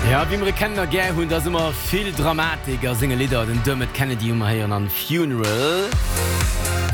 Ja, wéi mer e kennen a gär hunn, da ass ëmmer vill Dramatik a senge Lidder. Den Dermot Kennedy hu mer héieren an Funeral.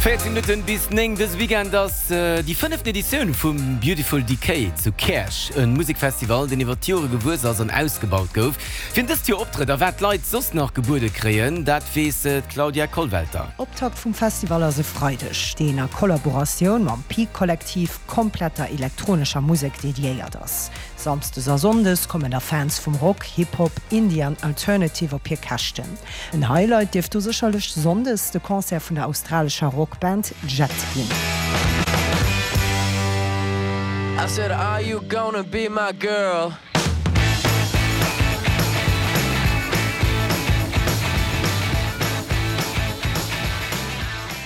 14 Minutten bis 9, Dëse Weekend ass déi fënneften Editioun vum Beautiful Decay zu Käerch, e Musekfestival, deen iwwer d'Jore gewuess ass an ausgebaut gouf. Wien dëst Joer optrëtt a wat d'Leit soss nach gebuede kréien, dat weess d'Claudia Kollwelter. Optakt vum Festival ass e Freideg, deen a Kollaboratioun mam Peak Kollektiv komplett der elektronescher Musek dediéiert ass. Samsdes a Sonndes kommen da Fans vum Rock, Hip Hop, Indie an Alternative op hir Käschten. En Highlight dierft do sécherlech Sonndes de Concert vun der australescher Rockband Jet ginn. I said are you gonna be my girl?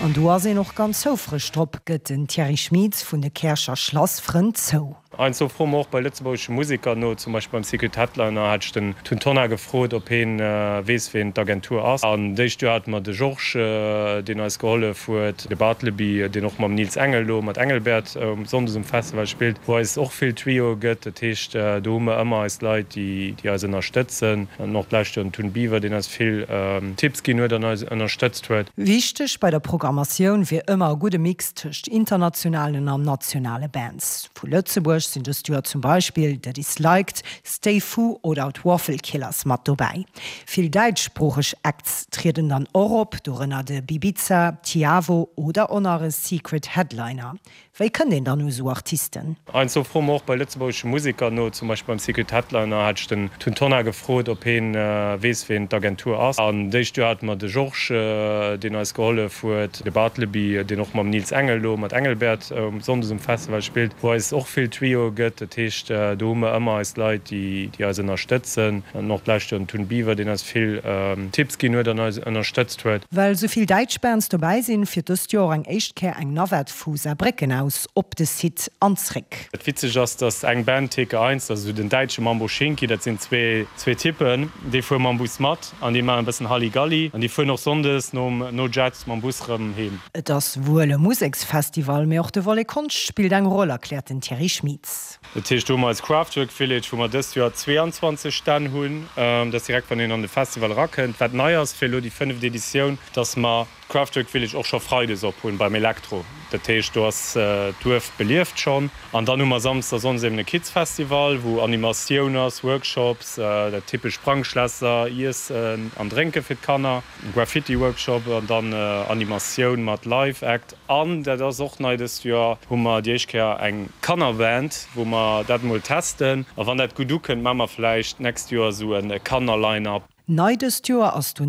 An do ass een och ganz houfreg drop, gëtt den Thierry Schmieds vun de Käercher Schlassfrënn zou. Heiansdo froe mer och bei lëtzebuergesche Museker no, zum Beispill beim Secret Headliner hat ech den Tun Tonnar gefrot, ob heen weess ween d'Agentur ass. An d'éischt Joer hate mer de Georges, deen eis gehollef huet, de Bartleby, deen och mam Nils Engel lo mat Engelbert sonndes um Festival spillt, wou eis och vill Tuyauxe gëtt. Dat heescht, do hu mer ëmmer eis Leit, déi eis ënnerstëtzen. An och d'lescht Joer den Tun Biwer, deen eis vill Tipps ginn huet an eis ënnerstëtzt huet. Wichteg bei der Programmatioun wier ëmmer e gudde Mix tëscht internationalen an nationale Bands. Vu Lëtzebuerg sinn dëst Joer zum Beispill The Disliked, Stay Fu oder d'Waffle Killers mat dobäi. Vill däitschsproocheg Acts trieden dann och op, dorënner de Bibiza, Tiavo oder och nach e Secret Headliner. Wéi kënnt een dann u sou Artisten? Heiansdo froe mer och bei lëtzebuergesche Museker no, zum Beispill beim Secret Headliner hat ech den Tun Tonnar gefrot, ob heen weess ween d'Agentur ass. An d'éischt Joer hate mer de Georges, deen eis gehollef huet, de Bartleby, deen och mam Nils Engel lo mat Engelbert sonndes um Festival spillt, wou eis och vill Tuyauxe gëtt. Dat heescht, do hu mer ëmmer eis Leit, déi eis ënnerstëtzen. An och d'lescht Joer den Tun Biwer, deen eis vill Tipps ginn huet an eis ënnerstëtzt huet. Well sou vill däitsch Bands dobäi sinn, fiert dëst Joer och eng éischt Kéier eng Navette vu Saarbrécken aus op de Site an zréck. Dat Witzegt ass, dass eng Band, Theke Eins, dat ass esou den däitsche Mambo Schinki, dat sinn zwee Typen, déi fuere mam Bus mat an déi maachen e bëssen Halligalli an déi fueren och sonndes nom no Jet mam Bus rëm heem. Et ass wuel e Museksfestival, mee och de Volet Konscht spillt eng Roll, erkläert den Thierry Schmieds. Dat heescht, do hu mer eis Craftwork Village, wou mer dëst Joer 22 Stänn hunn. Dat ass direkt, wann een an de Festival erakënnt. Wat nei ass fir elo déi fënneft Editioun, dass mer d'Craftwork Village och scho freides op hunn beim Elektro. Dat heescht, do ass d'Duerf belieft schonn. An dann hu mer samsdes a sonndes eben e Kids Festival, wou Animatioun ass, Workshops, dat typesch Sprangschlässer, Iessen an Drénke fir d'Kanner, Graffiti Workshop an dann Animatioun mat Live Act. An dat ass och nei dëst Joer, hu mer déi éischt Kéier eng Kannerband, wou mer dat emol testen. A wann dat gutt ukënnt, maache mer vläicht d'nächst Joer esou e Kanner-Line-Up. Nei dëst Joer ass donieft.